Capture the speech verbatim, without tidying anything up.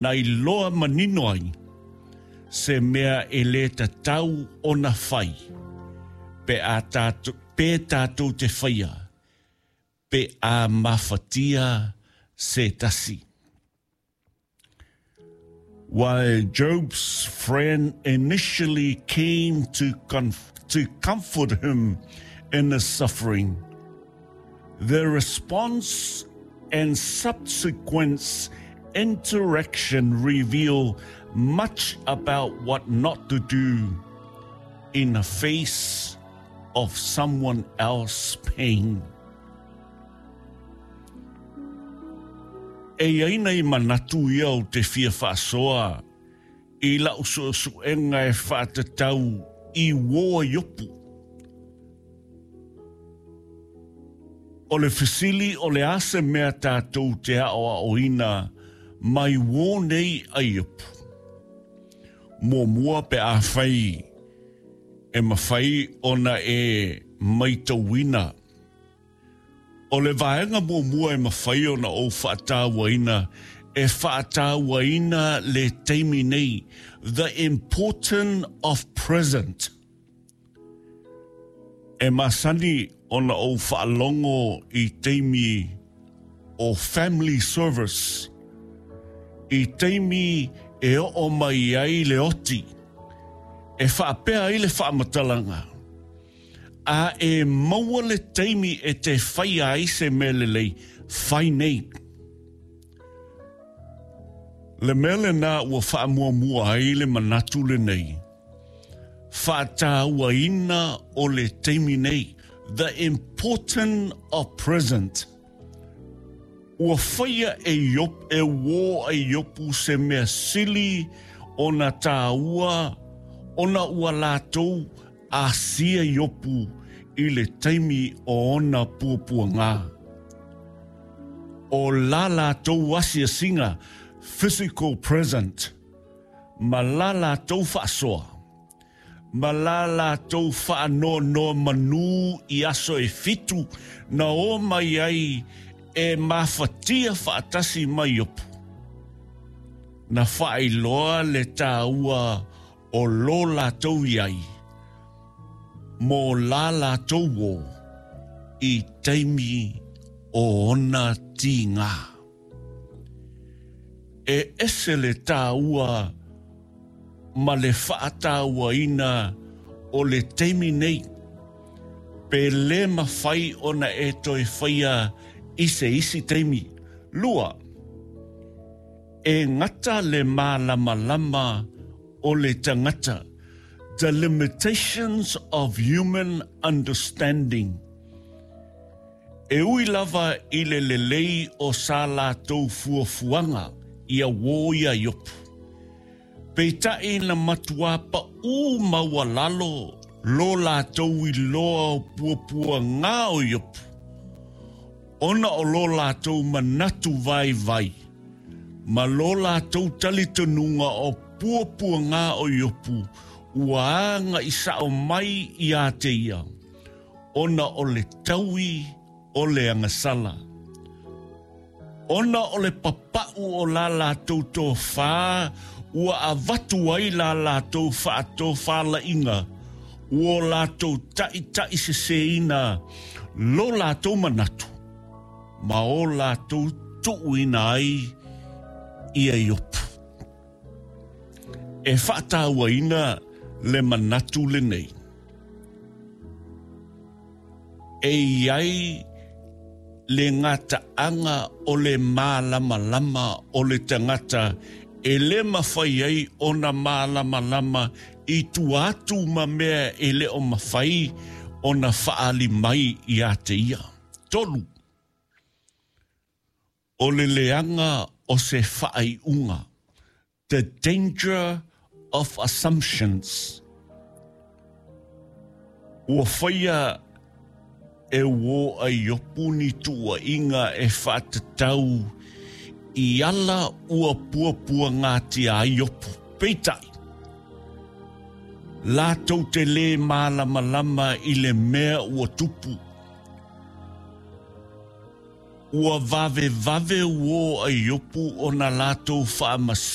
Na iloa manino ai se mea e lē tatau ona fai pe a tatou pe tatou te faia pe a mafatia se tasi. While Job's friend initially came to, conf- to comfort him in his suffering, their response and subsequent interaction reveal much about what not to do in the face of someone else's pain. E i ai nei manatu ia ou te fia faasoa i lau suesuega e faatatau i uō a Iopu. O le fesili o le a se mea tatou te aoaoina mai uō nei a Iopu? Muamua pe afai e mafai ona e maitauina. O le vaega muamua e mafai ona ou faatauaina, e faatauaina le taimi nei, the important of present. E masani ona ou faalogo i taimi o family service, i taimi e oo mai ai le oti, e faapea ai le faamatalaga, a e maua le taimi e te faia ai se mea lelei, fai nei. Le mea lenā ua faamuamua ai le manatu lenei, faatauaina o le taimi nei, the important of present. Ua faia e Iop, e uō a Iopu se mea sili ona tāua ona ua latou asia Iopu i le taimi o ona puapuagā. O la latou asiasiga, physical present, ma la latou faasoa, ma la latou faanonomanu i aso e fitu na o mai ai e mafatia faatasi ma Iopu. Na faailoa le tāua o lo latou i ai, mo la latou uō i taimi o ona tigā. E ese le tāua ma le faatauaina o le taimi nei, pe lē mafai ona e toe faia i se isi taimi. Lua, e gata le malamalama o le tagata, the limitations of human understanding. E ui lava i le lelei o sa latou fuafuaga ia uō iā Iopu, peitai na matuā paʻū maualalo lo latou iloa o puapuagā o Iopu, ona o lo latou manatu vaivai, ma lo latou talitonuga o puapuagā o Iopu ua agaʻi sao mai iā te ia, ona o le taui o le agasala. Ona o le papaʻu o la latou tofā ua avatu ai la latou faatofalaiga, ua latou taʻitaʻiseseina lo latou manatu, ma o latou tuuina ai ia Iopu. E faatauaina le manatu lenei. E i ai le gataaga o le malamalama o le tagata e lē mafai ai ona malamalama i tua atu ma mea e le o mafai ona faaali mai iā te ia. Tolu, o le leaga o se faaiuga, the danger of assumptions. Ua faia e uō a Iopu ni tuuaiga e faatatau i ala ua puapuagātia ai Iopu. Peitai, latou te lē malamalama i le mea ua tupu. Ua vavevave uō a Iopu ona latou faamasino